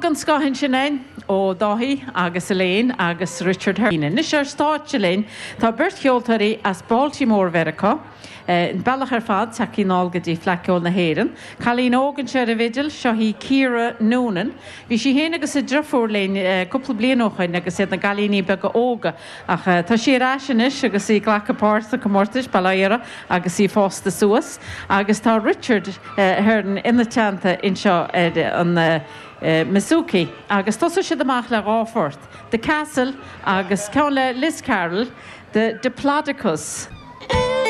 den scoth ansin againn ó Dáithí agus Elaine agus Richard Hearne. Anois ar stáitse linn tá beirt cheoltóirí as Baltimore Mheiriceá. An bealach ar fad tagtha anall go dtí Fleadh Cheoil na hÉireann. Cailín óg anseo ar an bhfidil, seo í Ciara Noonan. Bhí sí féin agus a driofúr linn cúpla bliain ó shoin agus iad na gcailíní beaga óga ach tá sí ar ais anois agus í ag glacadh páirt sna comórtais, bail ó Dhia uirthi, agus í fásta suas. Agus tá Richard Hearne ina teannta anseo ar an mbouzouki agus tosóidh siad amach le dhá phort, The Castle agus ceann le Liz Carroll, The Diplodocus.